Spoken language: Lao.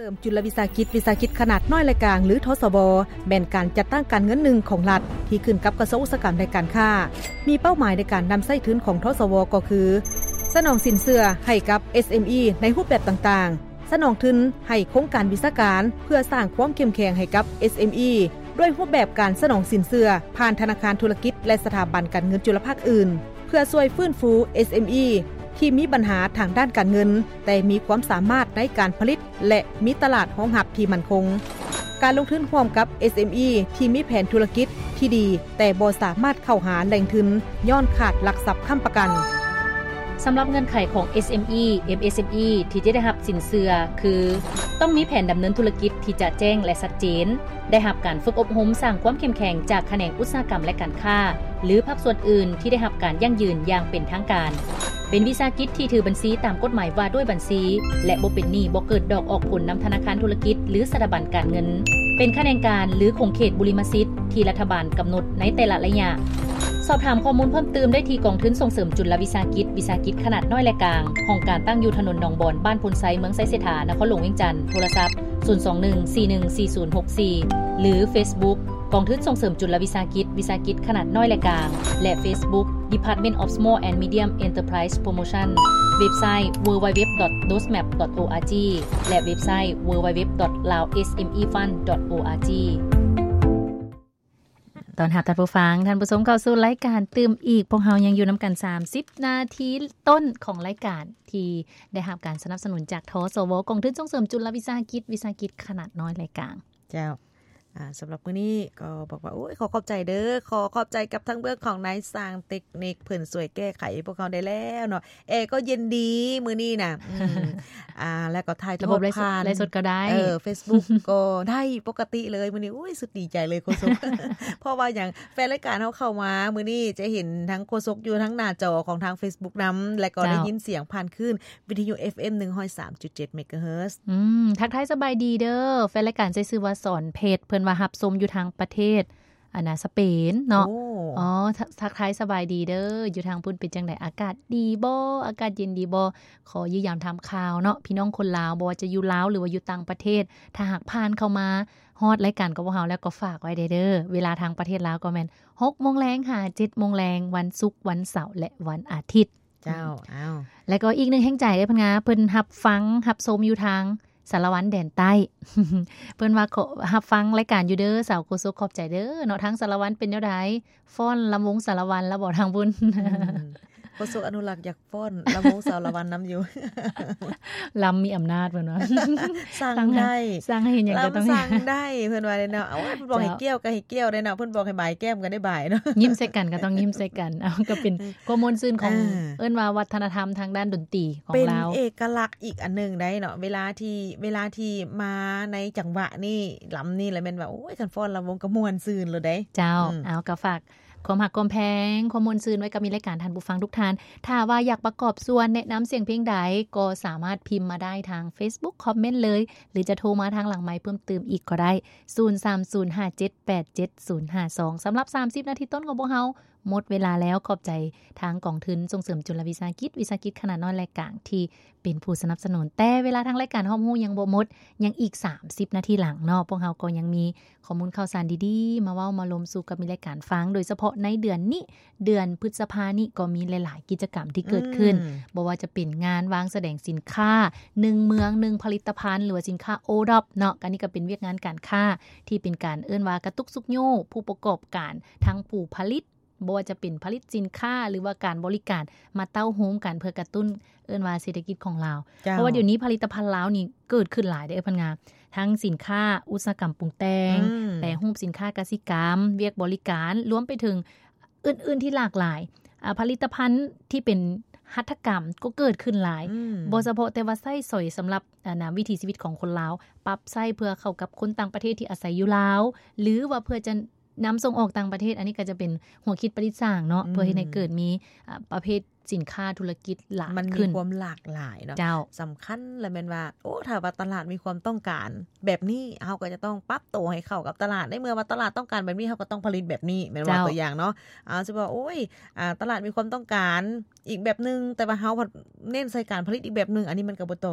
ເສີມຈຸນລະວິສາຫະກິດ, ວິສາຫະກິດຂະໜາດນ້ອຍ ແລະ ກາງ ຫຼື ທສວ ແມ່ນການຈັດຕັ້ງການເງິນໜຶ່ງຂອງລັດ ທີ່ຂຶ້ນກັບກະຊວງອຸດສາຫະກຳ ແລະ ການຄ້າ. ມີເປົ້າໝາຍໃນການນຳໃຊ້ທຶນຂອງ ທສວ ກໍຄື ສະໜອງສິນເຊື່ອໃຫ້ກັບ ເອສເອັມອີ ໃນຮູບແບບຕ່າງໆ, ສະໜອງທຶນໃຫ້ໂຄງການວິຊາການ ເພື່ອສ້າງຄວາມເຂັ້ມແຂງໃຫ້ກັບ ເອສເອັມອີ ດ້ວຍຮູບແບບການສະໜອງສິນເຊື່ອຜ່ານທະນາຄານທຸລະກິດ ແລະ ສະຖາບັນການເງິນຈຸລະພາກອື່ນ ເພື່ອຊ່ວຍຟື້ນຟູ ເອສເອັມອີ ທີ່ມີບັນຫາທາງດ້ານການເງິນ ແຕ່ມີຄວາມສາມາດໃນການຜະລິດ ແລະ ມີຕະຫຼາດຮອງຮັບທີ່ໝັ້ນຄົງ. ການລົງທຶນຮ່ວມກັບ ເອສເອັມອີ ທີ່ມີແຜນທຸລະກິດທີ່ດີ ແຕ່ບໍ່ສາມາດເຂົ້າຫາແຫຼ່ງທຶນຍ້ອນຂາດຫຼັກຊັບຄ້ຳປະກັນ. ສຳລັບເງື່ອນໄຂຂອງ ເອສເອັມອີ ເອັມເອສເອັມອີ ທີ່ຈະໄດ້ຮັບສິນເຊື່ອຄື ຕ້ອງມີແຜນດຳເນີນທຸລະກິດທີ່ຈະແຈ້ງ ແລະ ຊັດເຈນ, ໄດ້ຮັບການຝຶກອົບຮົມສ້າງຄວາມເຂັ້ມແຂງຈາກຂະແໜງອຸດສາຫະກຳ ແລະ ການຄ້າ ຫຼື ພາກສ່ວນອື່ນທີ່ໄດ້ຮັບການຢັ້ງຢືນຢ່າງເປັນທາງການ, ເປັນວິສາຫະກິດທີ່ຖືບັນຊີຕາມກົດໝາຍວ່າດ້ວຍບັນຊີ ແລະ ບໍ່ເປັນໜີ້ ບໍ່ເກີດດອກອອກຜົນນຳທະນາຄານທຸລະກິດ ຫຼື ສະຖາບັນການເງິນ, ເປັນຂະແໜງການ ຫຼື ຂົງເຂດບຸລິມະສິດທີ່ລັດຖະບານກຳນົດໃນແຕ່ລະໄລຍະ. ສອບຖາມຂໍ້ມູນເພີ່ມຕື່ມໄດ້ທີ່ກອງທຶນສົ່ງເສີມຈຸນລະວິສາຫະກິດ, ວິສາຫະກິດຂະໜາດນ້ອຍ ແລະ ກາງ, ຫ້ອງການຕັ້ງຢູ່ຖະໜົນໜອງບອນ, ບ້ານໂພນໄຊ, ເມືອງໄຊເສດຖາ, ນະຄອນຫຼວງວຽງຈັນ, ໂທລະສັບ ສູນສອງໜຶ່ງ ສີ່ໜຶ່ງສີ່ສູນຫົກສີ່ ຫຼື ເຟສບຸກ ກອງທຶນສົ່ງເສີມຈຸນລະວິສາຫະກິດ, ວິສາຫະກິດຂະໜາດນ້ອຍ ແລະ ກາງ ແລະ ເຟສບຸກ Department of Small and Medium Enterprise Promotion, ເວັບໄຊ www.dosmap.org ແລະ ເວັບໄຊ www.laosmefund.org. ຕ້ອນຮັບທ່ານຜູ້ຟັງ, ທ່ານຜູ້ຊົມເຂົ້າສູ່ລາຍການຕື່ມອີກ. ພວກເຮົາຍັງຢູ່ນຳກັນສາມສິບນາທີຕົ້ນຂອງລາຍການ ທີ່ໄດ້ຮັບການສະໜັບສະໜູນຈາກ ທສວ ກອງທຶນສົ່ງເສີມຈຸນລະວິສາຫະກິດ, ວິສາຫະກິດຂະໜາດນ້ອຍ ແລະ ກາງ. ເຈົ້າ. ອ່າ ສຳລັບມື້ນີ້ກໍບອກວ່າ ໂອ້ຍ ຂໍຂອບໃຈເດີ້ ຂໍຂອບໃຈກັບທາງເບື້ອງຂອງນາຍຊ່າງເຕັກນິກ ເພິ່ນຊ່ວຍແກ້ໄຂໃຫ້ພວກເຮົາໄດ້ແລ້ວເນາະ. ແອກໍເຢັນດີມື້ນີ້ນະ ອືມ ອ່າ ແລ້ວກໍຖ່າຍທອດຜ່ານ ລະບົບໄລຟ໌ສົດກໍໄດ້ ເອີ ເຟສບຸກກໍໄດ້ປົກກະຕິເລີຍ. ມື້ນີ້ ໂອ້ຍ ສຸດດີໃຈເລີຍໂຄສົກ ເພາະວ່າຫຍັງ ແຟນລາຍການເຮົາເຂົ້າມາມື້ນີ້ຈະເຫັນທັງໂຄສົກຢູ່ທາງໜ້າຈໍຂອງທາງເຟສບຸກນຳ ແລະ ກໍ ເຈົ້າ ໄດ້ຍິນສຽງຜ່ານຄື້ນ ວິທະຍຸ ເອັຟເອັມ ໜຶ່ງຮ້ອຍສາມຈຸດເຈັດ ເມກາເຮີດ. ອືມ ທັກທາຍສະບາຍດີເດີ້ ແຟນລາຍການໃຊ້ຊື່ວ່າ ສອນເພັດ ເພິ່ນວ່າຮັບຊົມຢູ່ທາງປະເທດ ອັນນ່າ ສະເປນເນາະ. ໂອ້ ອໍ ທັກ ທັກທາຍສະບາຍດີເດີ້ ຢູ່ທາງພຸ້ນເປັນຈັ່ງໃດ? ອາກາດດີບໍ່? ອາກາດເຢັນດີບໍ່? ຂໍຢ້ຽມຢາມຖາມຂ່າວເນາະ ພີ່ນ້ອງຄົນລາວ ບໍ່ວ່າຈະຢູ່ລາວ ຫຼືວ່າຢູ່ຕ່າງປະເທດ ຖ້າຫາກຜ່ານເຂົ້າມາຮອດລາຍການຂອງພວກເຮົາແລ້ວ ກໍຝາກໄວ້ແດ່ເດີ້ ເວລາທາງປະເທດລາວກໍແມ່ນ ຫົກໂມງແລງຫາ ເຈັດໂມງແລງ ວັນສຸກ ວັນເສົາ ແລະ ວັນອາທິດ. ເຈົ້າ ອືມ ອ້າວ ແລ້ວກໍອີກໜຶ່ງແຮງໃຈເດີ້ ເພິ່ນວ່າເພິ່ນຮັບຟັງ ຮັບຊົມຢູ່ທາງສາລະວັນແດນໃຕ້ ເພິ່ນວ່າ ຮັບຟັງລາຍການຢູ່ເດີ້ ສາວໂຄສົກ ຂອບໃຈເດີ້ເນາະ. ທາງສາລະວັນເປັນແນວໃດ? ຟ້ອນລຳວົງສາລະວັນແລ້ວບໍ່ທາງພຸ້ນ? ອືມ ໂຄສົກອະນຸລັກຢາກ ຟ້ອນລຳວົງສາລະວັນນຳຢູ່ ລຳມີອຳນາດເພິ່ນວ່າ ສັ່ງໄດ້ ສັ່ງໃຫ້ເຮັດຫຍັງກໍຕ້ອງ ລຳສັ່ງໄດ້ເພິ່ນວ່າເດ້ເນາະ. ເອົາ ເພິ່ນບອກໃຫ້ ເຈົ້າ ກ້ຽວກໍໃຫ້ກ້ຽວເດ້ເນາະ ເພິ່ນບອກໃຫ້ບາຍແກ້ມກໍໄດ້ບາຍເນາະ ຍິ້ມໃສ່ກັນກໍຕ້ອງຍິ້ມໃສ່ກັນ. ເອົາ ກໍເປັນຄວາມມ່ວນຊື່ນຂອງ ອ່າ ເອີ້ນວ່າວັດທະນະທຳທາງດ້ານດົນຕີຂອງລາວ ເປັນເອກະລັກອີກອັນໜຶ່ງໄດ໋ເນາະ. ເວລາທີ່ ເວລາທີ່ມາໃນຈັງຫວະນີ້ ລຳນີ້ລະແມ່ນວ່າ ໂອ້ຍ ຄັນຟ້ອນລຳວົງກໍມ່ວນຊື່ນໂລດເດ້. ເຈົ້າ ອືມ ເອົາ ກໍຝາກ ຄວາມຮັກຄວາມແພງ ຄວາມມ່ວນຊື່ນໄວ້ກັບມິດລາຍການທ່ານຜູ້ຟັງທຸກທ່ານ. ຖ້າວ່າຢາກປະກອບສ່ວນແນະນຳສຽງເພງໃດ ກໍສາມາດພິມມາໄດ້ທາງເຟສບຸກ ຄອມເມັນເລີຍ ຫຼືຈະໂທມາທາງຫຼັງໄມເພີ່ມຕື່ມອີກກໍໄດ້ ສູນສາມສູນຫ້າເຈັດແປດເຈັດສູນຫ້າສອງ. ສຳລັບສາມສິບນາທີຕົ້ນຂອງພວກເຮົາ ໝົດເວລາແລ້ວ. ຂອບໃຈທາງກອງທຶນສົ່ງເສີມຈຸນລະວິສາຫະກິດ, ວິສາຫະກິດຂະໜາດນ້ອຍ ແລະ ກາງ ທີ່ເປັນຜູ້ສະໜັບສະໜູນ. ແຕ່ເວລາທາງລາຍການຮອບຮູ້ຍັງບໍ່ໝົດ, ຍັງອີກສາມສິບນາທີຫຼັງເນາະ, ພວກເຮົາກໍຍັງມີ ຂໍ້ມູນຂ່າວສານດີໆ ມາເວົ້າມາລົມສູ່ກັບມິດລາຍການຟັງ, ໂດຍສະເພາະໃນເດືອນນີ້ ເດືອນພຶດສະພານີ້ ກໍມີຫຼາຍໆກິດຈະກຳທີ່ເກີດຂຶ້ນ, ອືມ ບໍ່ວ່າຈະເປັນງານວາງສະແດງສິນຄ້າ ໜຶ່ງເມືອງໜຶ່ງຜະລິດຕະພັນ ຫຼືວ່າສິນຄ້າໂອດອບເນາະ, ອັນນີ້ກໍເປັນວຽກງານການຄ້າທີ່ເປັນການເອີ້ນວ່າກະຕຸກຊຸກຍູ້ຜູ້ປະກອບການ ທັງຜູ້ຜະລິດ ບໍ່ວ່າຈະເປັນຜະລິດສິນຄ້າ ຫຼືວ່າການບໍລິການ ມາເຕົ້າໂຮມກັນເພື່ອກະຕຸ້ນ ເອີ້ນວ່າເສດຖະກິດຂອງລາວ. ເຈົ້າ ເພາະວ່າດຽວນີ້ຜະລິດຕະພັນລາວນີ້ເກີດຂຶ້ນຫຼາຍເດ້ ເອີ ເພິ່ນວ່າ ທັງສິນຄ້າອຸດສາຫະກຳປຸງແຕ່ງ, ອືມ ແປຮູບສິນຄ້າກະສິກຳ, ວຽກບໍລິການ, ລວມໄປເຖິງອື່ນໆທີ່ຫຼາກຫຼາຍ. ອາ ຜະລິດຕະພັນທີ່ເປັນຫັດຖະກຳກໍເກີດຂຶ້ນຫຼາຍ, ອືມ ບໍ່ສະເພາະແຕ່ວ່າໃຊ້ສອຍສຳລັບ ອັນນ່າ ວິຖີຊີວິດຂອງຄົນລາວ, ປັບໃຊ້ເພື່ອເຂົ້າກັບຄົນຕ່າງປະເທດທີ່ອາໄສຢູ່ລາວ ຫຼືວ່າເພື່ອຈະ ນຳສົ່ງອອກຕ່າງປະເທດ, ອັນນີ້ກໍຈະເປັນຫົວຄິດປະດິດສ້າງເນາະ, ອືມ ເພື່ອເຮັດໃຫ້ເກີດມີ ອາ ປະເພດສິນຄ້າທຸລະກິດຫຼາຍຂຶ້ນ, ມັນມີຄວາມຫຼາກຫຼາຍເນາະ. ເຈົ້າ ສຳຄັນລະແມ່ນວ່າ ໂອ້ ຖ້າວ່າຕະຫຼາດມີຄວາມຕ້ອງການແບບນີ້ ເຮົາກໍຈະຕ້ອງປັບໂຕໃຫ້ເຂົ້າກັບຕະຫຼາດ, ໃນເມື່ອວ່າຕະຫຼາດຕ້ອງການແບບນີ້ ເຮົາກໍຕ້ອງຜະລິດແບບນີ້ ແມ່ນບໍ່? ເຈົ້າ ຕົວຢ່າງເນາະ ອາ ຊິວ່າ ໂອ້ຍ ອາ ຕະຫຼາດມີຄວາມຕ້ອງການ ອີກແບບໜຶ່ງ, ແຕ່ວ່າເຮົາພັດເນັ້ນໃສ່ການຜະລິດອີກແບບໜຶ່ງ, ອັນນີ້ມັນກໍບໍ່ຕອບ